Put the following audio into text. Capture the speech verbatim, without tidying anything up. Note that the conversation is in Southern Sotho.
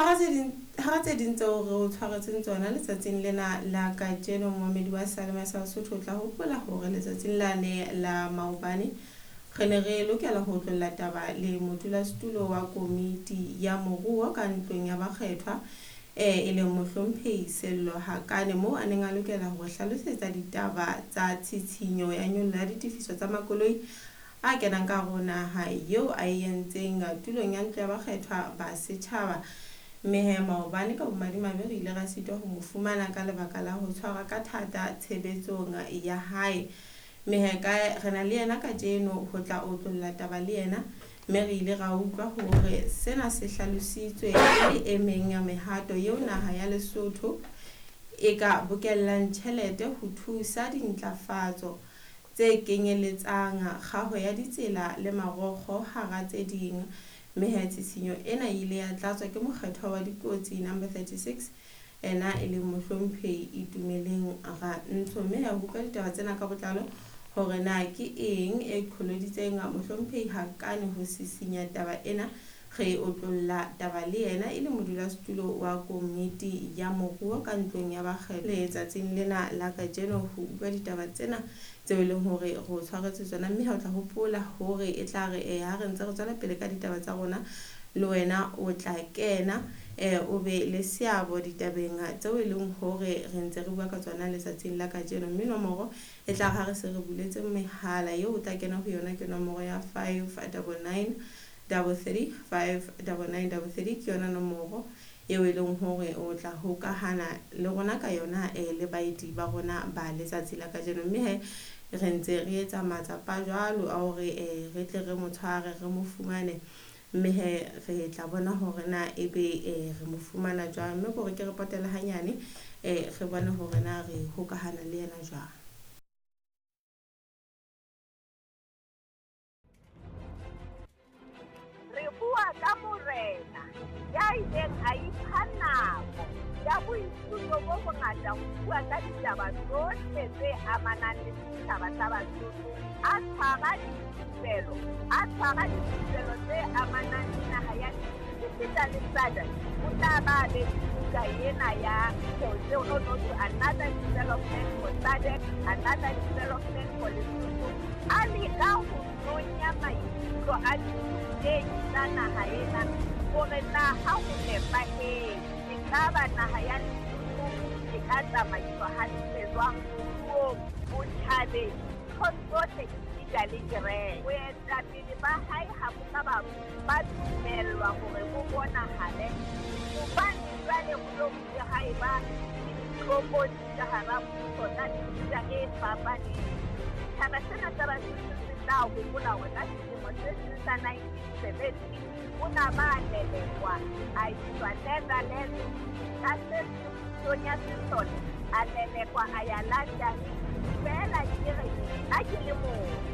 Hara tse ding hara tse ding tseo re o tshwaretseng tsona letsatsing lena la kajeno, momamedi wa Salema sa Sotho, o tla hopola hore letsatsing lane la maobane re ne re lokela ho tlolla taba le modulasetulo wa komiti ya moruo ka ntlong ya bakgethwa, e leng mohlomphehi Sello Hakane, moo a neng a lokela ho hlalosetsa ditaba tsa tshitshinyo ya nyollo ya ditefiso tsa makoloi a kenang ka hare ho naha eo a e entseng tulong ya ntlo ya bakgethwa ba setjhaba. Mme he maobane ka bomadimabe re ile ra sitwa ho mo fumana ka lebaka la ho tshwarwa ka thata tshebetsong ya hae. Mme he ka re na le yena kajeno ho tla otlolla taba le yena, mme re ile ra utlwa hore sena se hlalositswe e le e meng ya mehato eo naha ya Lesotho e ka bokellang tjhelete ho thusa dintlafatso tse kenyeletsang kgaho ya ditsela le marokgo hara tse ding. Mme he tshitshinyo ena e ile ya tlatswa ke mokgethwa wa dikotsi number thirty-six, ena e leng mohlomphehi Itumeleng Rantsho. Mme he ho utlwa ditaba tsena ka botlalo hore na ke eng e qholoditseng mohlomphehi Hakane ho sisinya taba ena, re otlolla taba le yena e le modulasetulo wa komiti ya moruo ka ntlong ya bakgethwa letsatsing lena la kajeno ho utlwa ditaba tsena tseo e leng hore re o tshwaretse tsona. Mme ha o tla hopola hore e tla re eh, ha re ntse re tswela pele ka ditaba tsa rona, le wena o tla kena eh, o be le seabo ditabeng tseo e leng hore re ntse re bua ka tsona letsatsing la kajeno. Mme nomoro e tla re ha re se re buletse mehala eo o tla kena ho yona ke nomoro ya five double nine double three five double nine double three, ke yona nomoro eo e leng hore o tla hokahana le rona ka yona eh, le baeti ba rona ba letsatsi la kajeno. Mme he re ntse re etsa matsapa jwalo a hore eh, re tle re mo tshware re mo fumane, mme he re tla bona hore na ebe eh, re mo fumana jwang. Mme kore ke re potele hanyane eh, re bone hore na re hokahana le yena jwang. Re bua ka morena ya ileng a ipha nako ya boithuto bo bongata ho bua ka ditaba tsohle tse amanang le setjhaba sa Basotho, a tshwara dithupelo, a tshwara dithupelo tse amanang le naha ya esita le S A D C. O tla ba be le buka ena ya no no to another development for S A D C, another development for Lesotho. A leka ho nonya maikutlo a dithutehi tsa naha ena hore na ha ho nepahetse ekaba naha ya Lesotho e ka tsamaiswa hantle jwang moruong, botjhabeng, nthong tsohle esita le kereke. Boetapele ba hae ha bo ka ba ba dumellwa hore bo bonahale hobane jwale ho lo bile ha eba le ditlokotsi ka hara mmuso tsa mefuta e fapaneng. Setjhaba sena sa Basotho se tla hopola hore ka selemo se seng sa nineteen seventy o na ba lelekwa a iswa Netherlands ka se seng pusong ya sesole, a lelekwa a ya London. Feela ke re nna ke le motho.